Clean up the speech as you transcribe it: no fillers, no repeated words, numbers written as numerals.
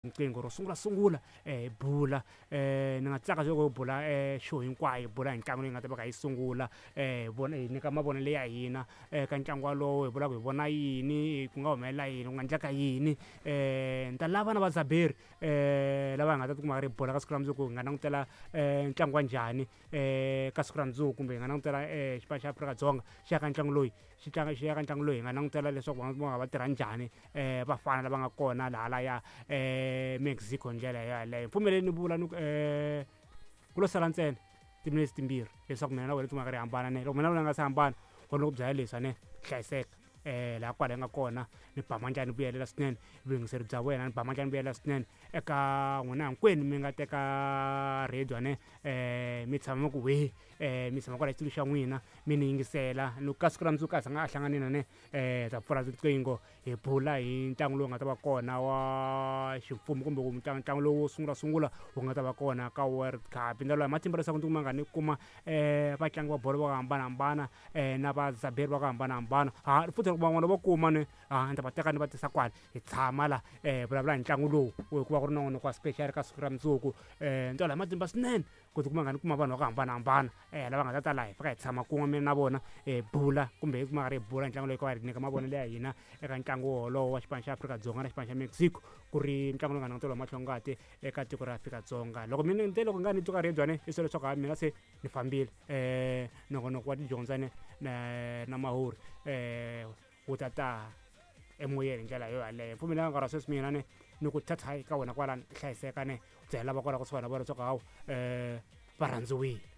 Riqingho ro sungula sungula hi bula ni nga tsaka loko hi bula show hinkwayo, hi bula hi ntlangu leyi nga ta va kha yi sungula, hi vona hi nyika mavonelo ya hina ka ntlangu walowo, hi vula ku hi vona yini, ku nga humelela yini, ku nga endleka yini. Ni ta lava na vadzaberi lava hi nga ta tikuma ri hi bula ka siku ra mundzuku, hi nga langutela ntlangu wa njhani ka siku ra mundzuku, kumbe hi nga langutela xipano xa Afrika-Dzonga xi ya ka ntlangu loyi xi tlanga xi ya ka ntlangu loyi, hi nga langutela leswaku va nga va tirha njhani vafana lava nga kona lahalaya Mexico hi ndlela yaleyo. Pfumeleni ni vula ni ku ku lo sala ntsena timinetse timbirhi leswaku mina na wena ti nga ri hambana ne, loko mina na wena nga se hambana kona ku byela leswi ne hlayiseka laha kwala yi nga kona, ni ba mandla ni vuyelela swinene vuyingiseri bya wena, ni ba mandla ni vuyelela swinene eka n'wina hinkwenu mi nga teka radio ne mi tshama mi ku wee, mi tshama kwala xitulu xa n'wina mi ni yingisela. Ni ka siku ra mundzuku a zanga a hlanganini ne hi ta pfula riqingho hi bula hi ntlangu lowu nga ta va kona wa ximfumo, kumbe ku ntlangu lowu wo sungula sungula wu nga ta va kona ka World Cup. Hi ndlela matimba leswaku ndzi kuma nga ni kuma vatlangi va bolo va ku hambanahambana na vadzaberi va ku hambanahambana, ha futhi loko van'wana vo kuma ni ha ni ta va teka ni va tisa kwala hi tshama la vulavula hi ntlangu lowu, hikuva ku ri nongonoko wa special ka siku ra mundzuku. Ni twala hi matimba swinene ku tikuma nga ni kuma vanhu va ku hambanahambana lava nga ta ta laha hi fika hi tshama kun'we mina na vona hi bula, kumbe hi kuma ri hi bula ntlangu loyi ka va hi nyika mavonelo ya hina eka ntlangu wolowo wa xipano xa Afrika-Dzonga na xipano xa Mexico, ku ri ntlangu lowu nga languteriwa hi mahlongati eka tiko ra Afrika-Dzonga. Loko mina ni te loko nga ni twa ka radio ne i swa leswaku ha mina se ni fambile, nongonoko wa tidyondzo ne na mahuri wu ta ta emoyeni hi ndlela yo yaleyo. Pfumelelani nkarhi wa sweswi mina ne ni ku thatha ka wena kwalani, hlayiseka ne byela va kwala kusuhani na vona leswaku hawu va rhandziwile.